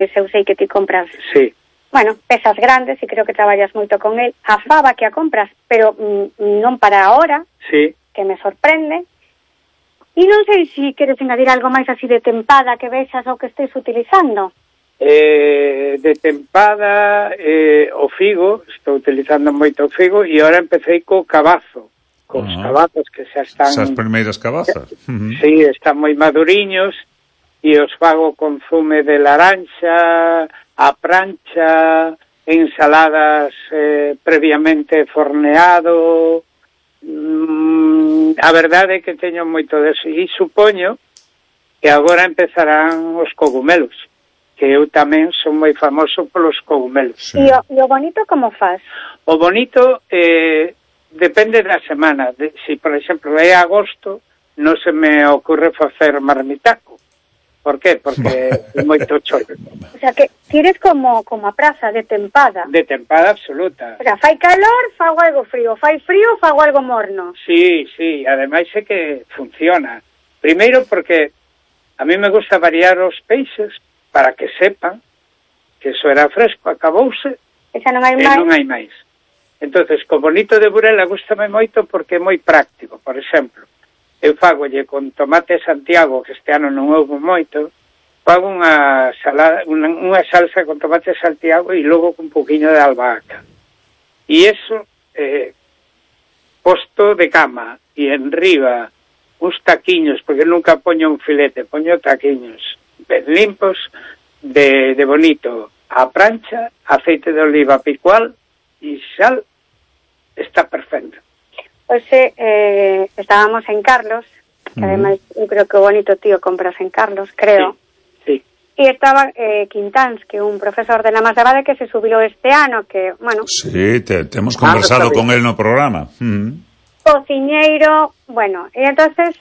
eu sei que ti compras. Sí. Bueno, pesas grandes e creo que traballas moito con el. A fava que a compras, pero non para ahora, Sí. que me sorprende. E non sei se queres engadir algo máis así de tempada que vexas ou que estés utilizando. De tempada, o figo, estou utilizando moito o figo, e ahora empecé co cabazo, cos cabazos que xa están... Esas primeiras cabazas. Sí, están moi maduriños, e os fago con zume de laranxa, a prancha, ensaladas previamente forneado. A verdade é que teño moito deso, e supoño que agora empezarán os cogumelos, que eu tamén son moi famoso polos cogumelos. Sí. E o bonito como faz? O bonito depende da semana. Si, por exemplo, é agosto, non se me ocurre facer marmitaco. Por qué? Porque é moito choro. O sea, que tires como a praza de tempada. De tempada absoluta. O sea, fai calor, fago algo frío. Fai frío, fago algo morno. Sí, sí. Ademais é que funciona. Primeiro porque a mí me gusta variar os peixes para que sepan que eso era fresco, acabouse, e xa non hai máis. Non hai máis. Entonces, co bonito de Burela gustame moito porque é moi práctico. Por exemplo, eu fagolle con tomate Santiago, que este ano non houve moito, fago unha salsa con tomate Santiago e logo con un poquinho de albahaca. E eso, posto de cama, e enriba uns taquiños, porque nunca poño un filete, poño taquiños ben limpos, de bonito, a prancha, aceite de oliva picual e sal, está perfecto. Hoxe estábamos en Carlos, que ademais eu creo que o bonito tío compras en Carlos, creo. Sí. E estaba Quintáns, que é un profesor de Lamas de Abade que se subilou este ano, que, bueno... Sí, temos conversado con él no programa. Cociñeiro, bueno, e entonces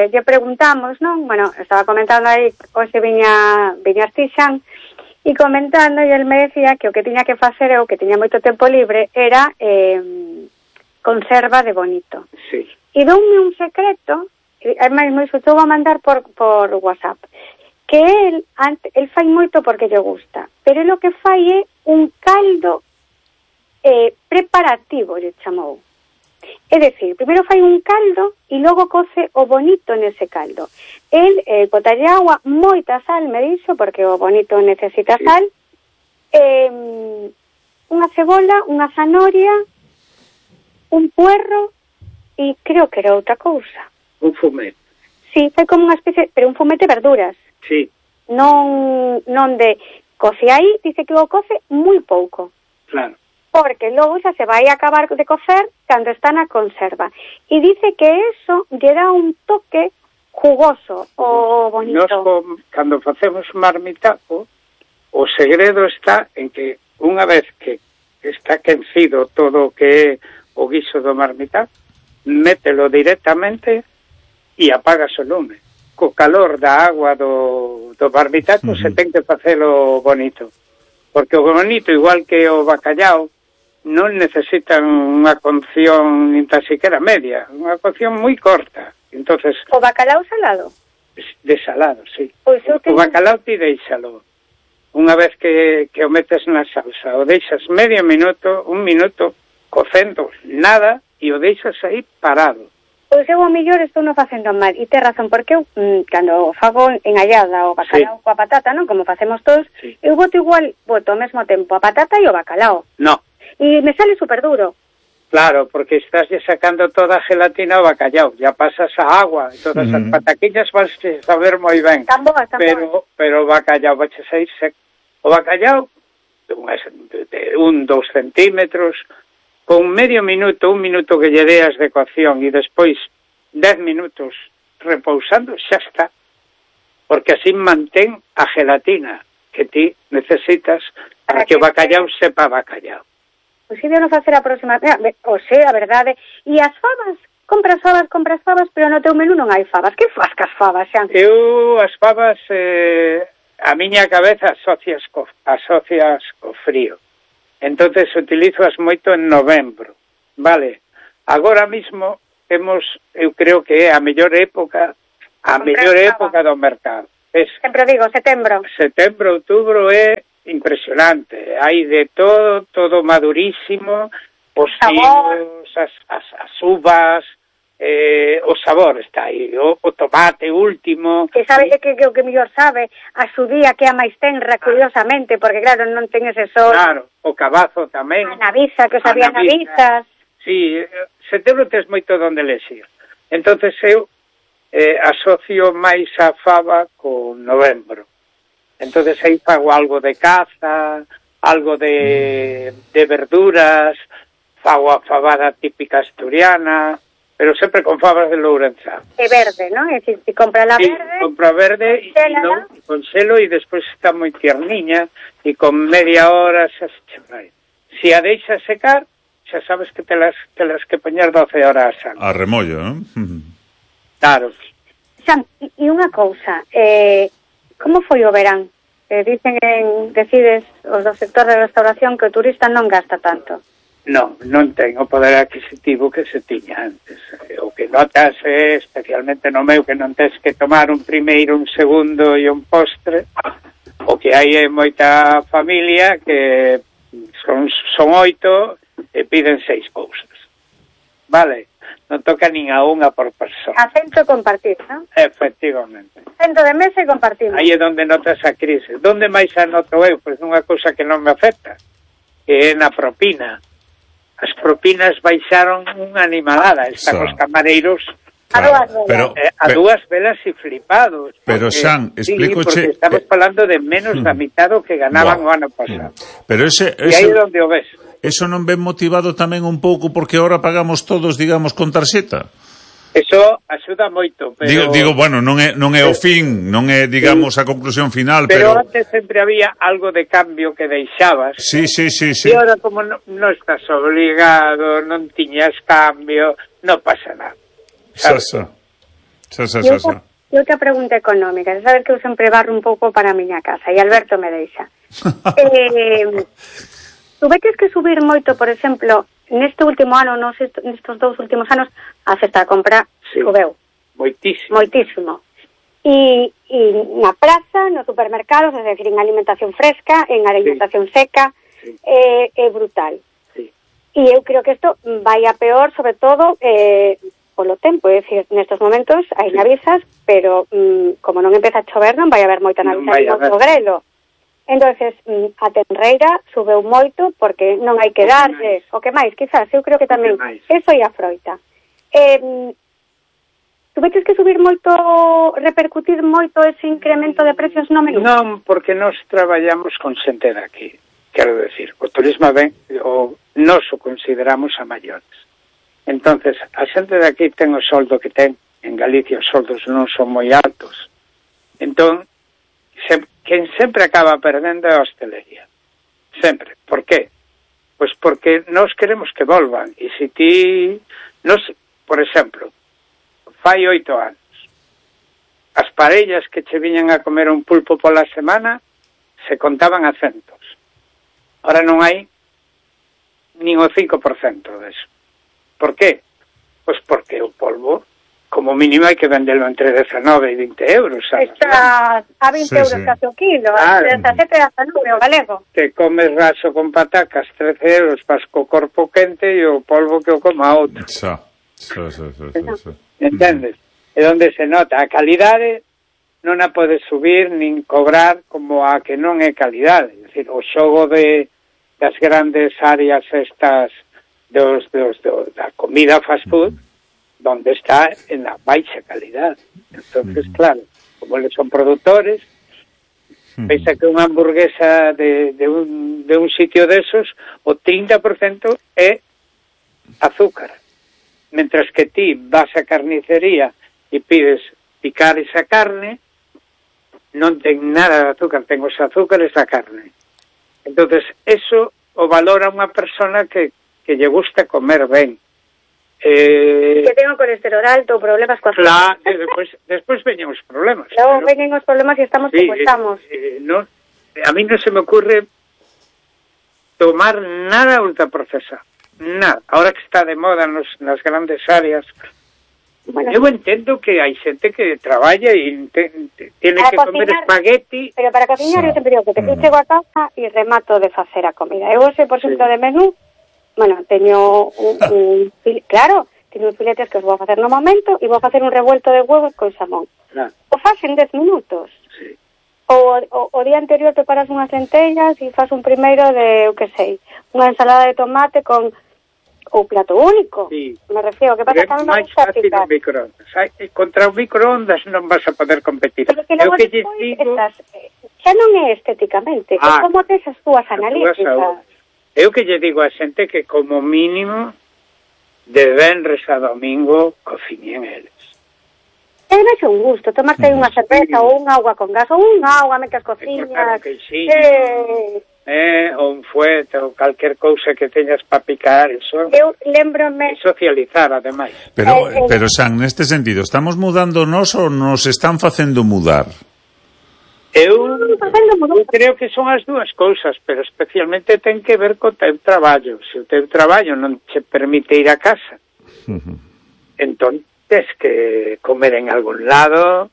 lle preguntamos, non? Bueno, estaba comentando aí, hoxe viñas ti Xan, e comentando, e el me decía que o que tiña que facer, o que tiña moito tempo libre, era conserva de bonito. Sí. E doume un secreto, ademais moi estou a mandar por WhatsApp, que el fai moito porque lle gusta, pero lo que fai é un caldo preparativo, lle chamou. É dicir, primeiro fai un caldo e logo coce o bonito nese caldo. El botalle agua, moita sal, me dixo, porque o bonito necesita sal, unha cebola, unha zanahoria, un puerro e creo que era outra cousa. Un fumete. Sí, fai como unha especie, pero un fumete de verduras. Sí. Non de coce aí, dice que o coce moi pouco. Claro. Porque logo xa se vai a acabar de cocer cando está na conserva. E dice que eso lle dá un toque jugoso o bonito. Nos, cando facemos marmitaco, o segredo está en que unha vez que está quencido todo o que é o guiso do marmitaco, mételo directamente e apagas o lume. Co calor da agua do marmitaco se ten que facelo bonito. Porque o bonito, igual que o bacallao, non necesitan unha cocción nin tan siquiera media, unha cocción moi corta. Entonces, o bacalao salado? De salado, sí. Pois o bacalao ti deixalo. Unha vez que o metes na salsa, o deixas medio minuto, un minuto, cocendo nada, e o deixas aí parado. Pois eu ao mellor estou non facendo mal, e ten razón, porque eu, cando fago engallada o bacalao coa patata, non, como facemos todos, eu boto ao mesmo tempo a patata e o bacalao. No. E me sale super duro. Claro, porque estás sacando toda a gelatina ao bacalao, ya pasas a agua, e todas as pataquiñas vas a saber moi ben. Tan boas, tan boas. Pero o bacalao vai sair seco. O bacalao, de 1-2 centímetros, con medio minuto, un minuto que lle deas de cocción e despois 10 minutos repousando, xa está. Porque así mantén a gelatina que ti necesitas para que o bacalao sepa bacalao. Pois si debemos facer a próxima... O sea, a verdade. E as fabas? Compras fabas, pero no teu menú non hai fabas. Que faz cas fabas, Xan? Eu, as fabas, a miña cabeza asocias co frío. Entonces utilizoas moito en novembro, vale? Agora mismo temos, eu creo que é a mellor época do mercado. Sempre digo, setembro. Setembro, outubro é impresionante. Hai de todo madurísimo, os figos, as uvas, o sabor está aí, o tomate último. Que sabe que o que mellor sabe, a xudía que a máis tenra, curiosamente, porque claro, non ten ese sol. Claro, o cabazo tamén. A naviza, que os había navizas. Sí, setembro tes moito donde lexir. Entonces eu asocio máis a fava con novembro. Entonces aí fago algo de caza, algo de verduras, fago a fabada típica asturiana, pero sempre con fabas de Lourenzá. É verde, non? É dicir, si compra la verde... Sí, compra verde con selo e despois está moi tierniña e con media hora xa se vai. Si a deixa secar, xa sabes que telas que poñer 12 horas antes. A remollo, non? Claro. Sam, e unha cousa, como foi o verán? Decides os do sector de restauración que o turista non gasta tanto. Non ten o poder adquisitivo que se tiña antes. O que notas é, especialmente no meu, que non tens que tomar un primeiro, un segundo e un postre. O que hai é moita familia que son 8 e piden 6 cousas. Vale? Non toca nin a unha por persona. Acento compartir, non? Efectivamente. Acento de mesa e compartimos. Aí é onde notas a crise. Donde máis a noto eu? Pois nunha cousa que non me afecta, que é na propina. As propinas baixaron unha animalada. Están os camareiros a dúas velas e flipados. Pero, Xan, explícoche... porque estamos falando de menos da mitad do que ganaban o ano pasado. Pero ese... E aí é onde o ves. Eso non ven motivado tamén un pouco porque ahora pagamos todos, digamos, con tarxeta? Eso axuda moito, pero... Digo, bueno, non é o fin, non é, digamos, a conclusión final, pero antes sempre había algo de cambio que deixabas. Sí. E ahora, como non estás obligado, non tiñas cambio, non pasa nada. Xa. Outra pregunta económica. Sabes que eu sempre barro un pouco para a miña casa, e Alberto me deixa. Tuveches que subir moito, por exemplo... Neste último ano, nestes 2 últimos anos, a cesta de compra subeu. Moitísimo. E na praza, nos supermercados, é dicir, en alimentación fresca, en alimentación seca, é brutal. Sí. E eu creo que isto vai a peor, sobre todo, polo tempo. É dicir, nestes momentos hai navisas, pero como non empeza a chover, non vai haber moita naviza e moito grelo. Entonces, a tenreira subeu moito porque non hai que darlle. O que máis, quizás, eu creo que tamén eso e a froita. Tuveches que subir moito, repercutir moito ese incremento de precios no menú? Non, porque nós traballamos con xente daqui. Quero decir, o turismo ben, nós o consideramos a maiores. Entonces, a xente daqui ten o soldo que ten. En Galicia os soldos non son moi altos. Entón, quen sempre acaba perdendo é a hostelería. Sempre. Por qué? Pois porque nós queremos que volvan. E se ti... por exemplo, fai 8 anos, as parellas que che viñan a comer un pulpo pola semana se contaban a centos. Ahora non hai nin o 5% deso. Por qué? Pois porque o polvo, como mínimo, hai que vendelo entre 19 e 20 euros. Está a 20 euros casi o kilo, entre 17 e 19 o galego. Te comes raso con patacas 13 euros, vas co corpo quente e o polvo que o coma outro. Entendes? É onde se nota. A calidade non a podes subir nin cobrar como a que non é calidade. É dicir, o xogo das grandes áreas estas da comida fast food, donde está en la baixa calidad. Entonces, claro, como eles son productores, pensa que unha hamburguesa de un sitio desos, o 30% é azúcar. Mentras que ti vas a carnicería e pides picar esa carne, non ten nada de azúcar, ten os azúcares da carne. Entonces, eso o valora unha persona que lle gusta comer ben. Que tengo colesterol alto, problemas coa claro, despois veñen os problemas. Logo veñen os problemas e estamos como estamos. A mí non se me ocurre tomar nada ultraprocesado. Nada. Ahora que está de moda nas grandes áreas, Bueno, eu entendo que hai xente que traballa e tiene que comer espagueti. Pero para cociñar eu sempre digo que eu chego a casa e remato de facer a comida. Eu hoxe, por exemplo, de menú, bueno, teño claro, teño filetes que os vou a facer no momento e vou a facer un revuelto de huevos con xamón. Claro. O faz en 10 minutos. Sí. O día anterior preparas unhas lentellas e faz un primeiro de, eu que sei, unha ensalada de tomate con o plato único. Sí. Me refiero, que pasa que a mí me gusta picar. Contra o microondas non vas a poder competir. Pero que logo despois estás, xa non é estéticamente, é como tes as túas analíticas. Eu que lle digo a xente que como mínimo de venres a domingo cociñen eles. É máis un gusto, tomarte unha cerveza ou unha agua con gas, ou unha agua mentre cociñas. Ou un fuete ou calquer cousa que teñas para picar, eso. Eu lembrome socializar, ademais. Pero San, neste sentido, estamos mudando nós ou nos están facendo mudar? Eu creo que son as dúas cousas, pero especialmente ten que ver co teu traballo. Se o teu traballo non te permite ir a casa, entón tes que comer en algún lado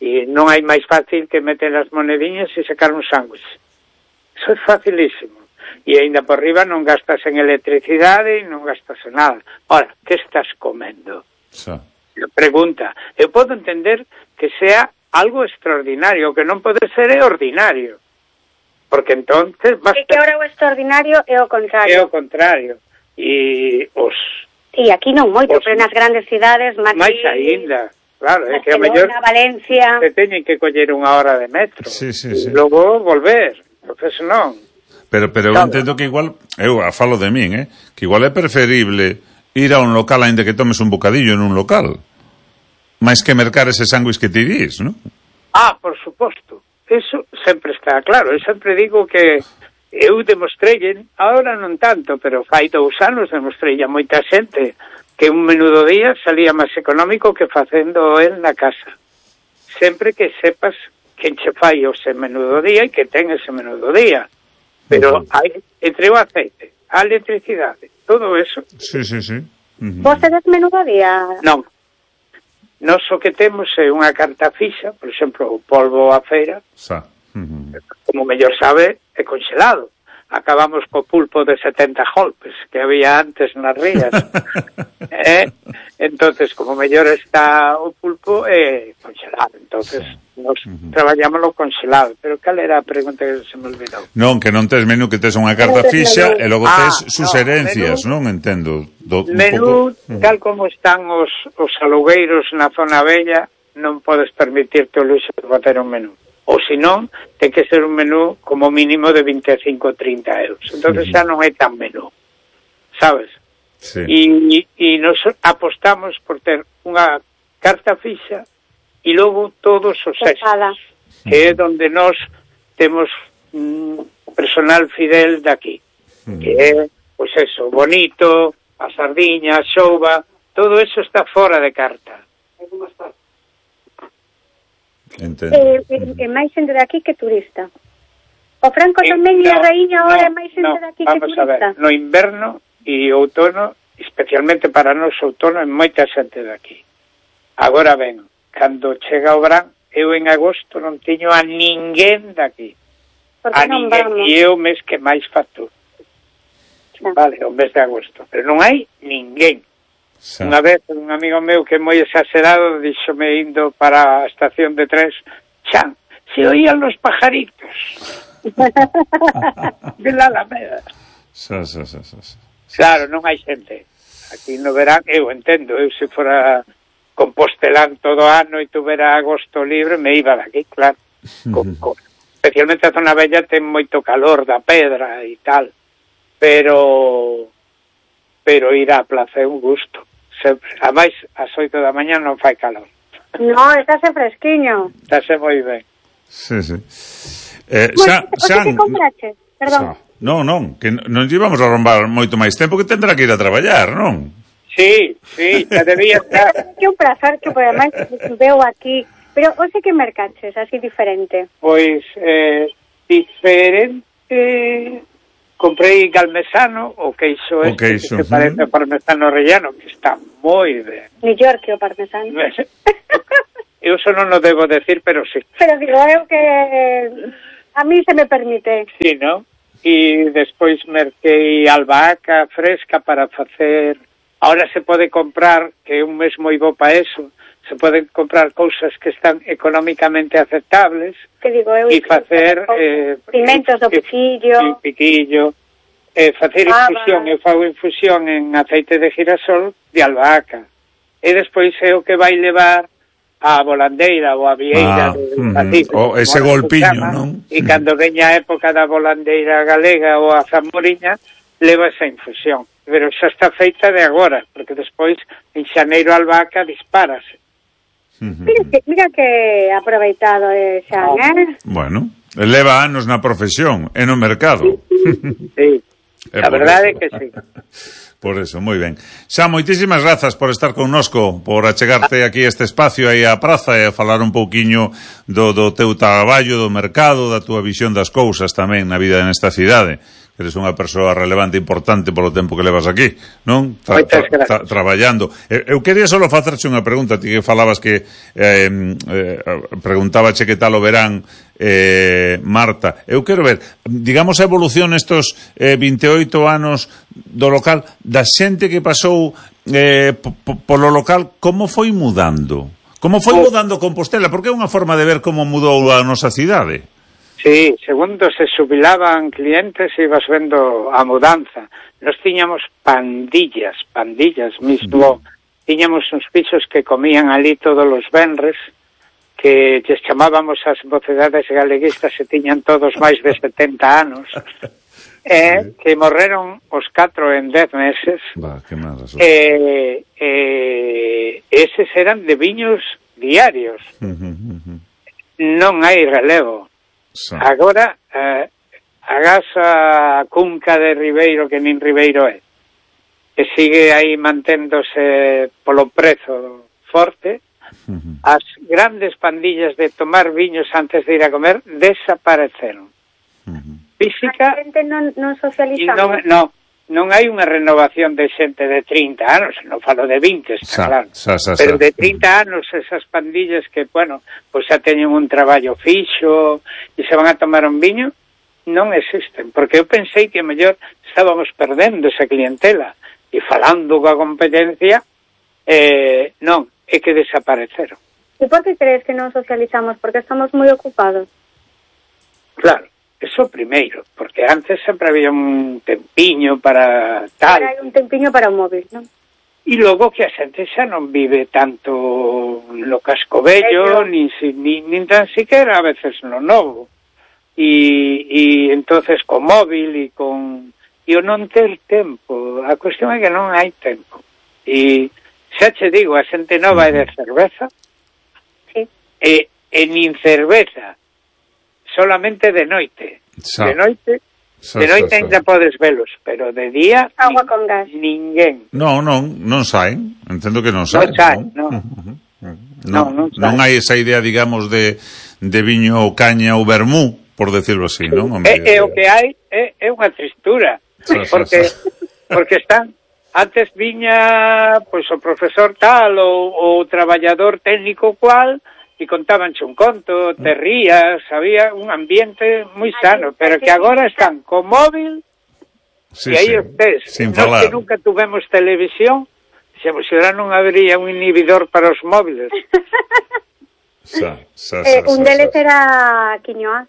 e non hai máis fácil que meter as monediñas e sacar un sándwich. Eso é facilísimo. E ainda por riba non gastas en electricidade e non gastas en nada. Ora, que estás comendo? Pregunta. Eu podo entender que sea algo extraordinario, que non pode ser ordinario. Porque entonces basta... E que ahora o extraordinario é o contrario. É o contrario. E os... Sí, aquí non moito, pero nas grandes cidades... máis aínda. Claro, é que a mellor Valencia te teñen que coller unha hora de metro. Sí. Logo volver. Entonces non. Pero eu entendo que igual, eu falo de min, que igual é preferible ir a un local aínda que tomes un bocadillo en un local, máis que mercar ese sándwich que te dirís, non? Por suposto. Eso sempre está claro. Eu sempre digo que eu demostrei, ahora non tanto, pero fai 2 anos demostrei a moita xente que un menú do día salía máis económico que facendo el na casa. Sempre que sepas quen che fai o ese menú do día e que ten ese menú do día. Pero hai, entre o aceite, a electricidade, todo eso. Sí. Vos tedes menú do día? Non. Nos o que temos é unha carta fixa, por exemplo, o polvo a feira, como mellor sabe, é congelado. Acabamos co pulpo de 70 golpes que había antes nas rías. Entonces, como mellor está o pulpo, é congelado. Entonces, nos traballámoslo congelado. Pero cal era a pregunta que se me olvidou? Non, que non tes menú, que tes unha carta fixa e logo tes suxerencias, non entendo. Menú, tal como están os alugueiros na zona bella, non podes permitirte o luxo de bater un menú. Ou senón, ten que ser un menú como mínimo de 25 ou 30 euros. Entonces xa non é tan menú, sabes? Sí. E nos apostamos por ter unha carta fixa e logo todos os extras, que é onde nós temos personal fidel daqui, que é, pois eso, bonito, a sardiña, a xouba, todo eso está fora de carta. Entendo. É máis xente daqui que turista. O Franco tamén e a Raíña ahora é máis xente daqui que turista. Vamos a ver, no inverno e outono, especialmente para nós outono, é moita xente daqui. Agora ben, cando chega o verán, eu en agosto non teño a ninguén daqui. A ninguén, e é o mes que máis facturo. Vale, o mes de agosto, pero non hai ninguén. Unha vez un amigo meu que é moi exagerado díxome indo para a estación de tres, Xan, se oían los pajaritos de la Alameda. Claro, non hai xente. Aquí no verán, eu entendo, eu se fora compostelán todo ano e tuvera agosto libre, me iba daqui, claro. Especialmente a zona bella ten moito calor da pedra e tal, pero ir á plaza é un gusto. A máis, ás 8 da mañá non fai calor. No, estáse fresquiño. Estáse moi ben. Sí. Xan, que comprache? Perdón. Non, que non íbamos a romper moito máis tempo, que tendrá que ir a traballar, non? Sí, xa debía estar. Que un prazer que por además veo aquí. Pero hoxe que mercaches, así diferente? Pois, diferente... comprei galmesano, o queixo que se parece ao parmesano rellano, que está moi ben. Mellor que o parmesano. Eu só non o debo decir, pero sí. Pero digo eu que a mí se me permite. Sí, non? E despois merquei albahaca fresca para facer... Ahora se pode comprar, que é un mes moi bo para eso, se poden comprar cousas que están económicamente aceptables, que digo eu, e facer pimentos do piquillo, facer infusión, eu fago infusión en aceite de girasol de albahaca, e despois é o que vai levar a volandeira ou a vieira o ese golpiño, non? E cando veña a época da volandeira galega ou a zamoriña, leva esa infusión, pero xa está feita de agora, porque despois en xaneiro a albahaca dispárase. Mira que aproveitado Xan, Bueno, leva anos na profesión e no mercado. Sí, a verdade é que sí. Por eso, moi ben. Xa, moitísimas grazas por estar connosco, por achegarte aquí a este espacio aí á praza e a falar un pouquiño do teu traballo, do mercado, da túa visión das cousas tamén na vida nesta cidade. Eres unha persoa relevante e importante polo tempo que levas aquí, non? Traballando. Eu quería só facerche unha pregunta, ti que falabas que preguntábache que tal o verán, Marta. Eu quero ver, digamos, a evolución estos 28 anos do local, da xente que pasou polo local, como foi mudando? Como foi mudando Compostela? Porque é unha forma de ver como mudou a nosa cidade. Sí, segundo se xubilaban clientes e ibas vendo a mudanza. Nos tiñamos pandillas mismo. Tiñamos uns pisos que comían ali todos os venres, que lles chamábamos as mocedades galeguistas e tiñan todos máis de 70 anos. Que morreron os 4 en 10 meses. Que mal, eses eran de viños diarios. Non hai relevo. Agora, agás a cunca de Ribeiro, que nin Ribeiro é, que sigue aí manténdose polo prezo forte, as grandes pandillas de tomar viños antes de ir a comer desapareceron. Física... A xente non socializamos. Non hai unha renovación de xente de 30 anos, non falo de 20, está claro. Pero de 30 anos, esas pandillas que, bueno, pois xa teñen un traballo fixo e se van a tomar un viño, non existen. Porque eu pensei que mellor estábamos perdendo esa clientela e falando coa competencia, non, é que desapareceron. E por que crees que non socializamos? Porque estamos moi ocupados. Claro. Eso primeiro, porque antes sempre había un tempiño para tal. Ahora hai un tempiño para o móvil, non? E logo que a xente xa non vive tanto no casco vello, nin tan siquiera a veces no novo. E entonces con móvil e con... E o non ter tempo. A cuestión é que non hai tempo. E xa che digo, a xente nova é de cerveza. Sí. E nin cerveza. Solamente de noite. De noite ainda podes velos, pero de día agua con gas. Ninguén. Non saen. Entendo que non saen. Non hai esa idea, digamos, de viño, caña ou vermú, por decirlo así, non? É o que hai é unha tristura. Porque están... Antes viña pois o profesor tal ou o traballador técnico cual e contabanche un conto, te rías, había un ambiente moi sano, pero que agora están co móvil e aí estés. Nós que nunca tuvemos televisión, se ahora non habría un inhibidor para os móviles. Un deles era Quiñoa.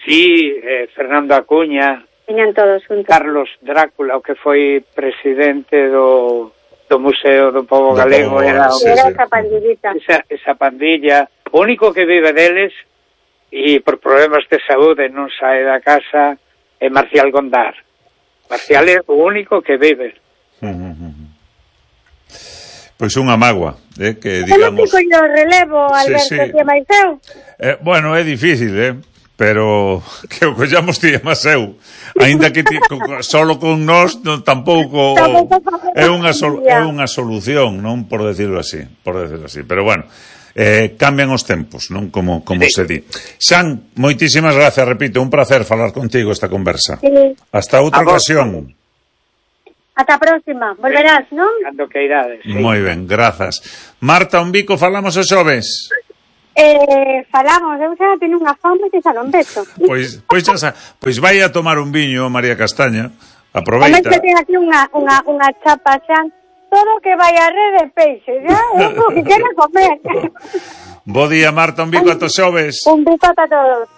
Sí, Fernando Acuña. Viñan todos juntos. Carlos Drácula, o que foi presidente do Museo do Pobo Galego, era esa pandillita. Esa pandilla. O único que vive deles, e por problemas de saúde non sae da casa, é Marcial Gondar. Marcial é o único que vive. Pois unha mágoa, que digamos... Eu non fico o relevo, Alberto, que máis eu? Bueno, é difícil, pero que o collamos ti e máis eu. Ainda que solo con nós tampouco é unha solución, non, por decirlo así. Pero bueno, cambian os tempos, non? Como se di. San, moitísimas gracias, repito, un placer falar contigo esta conversa. Sí. Hasta outra ocasión. Ata a próxima, volverás, non? Cando que irades, sí. Moi ben, grazas. Marta, un bico, falamos os xoves. Falamos, eu xa teño unha fome que xa non veto. Pois vai a tomar un viño, María Castaña. Aproveita. Como que ten aquí unha chapa xa, todo que vai a red de peixe, xa, eu que quero comer. Bo día, Marta, un bico a tos xoves. Un bico a todos.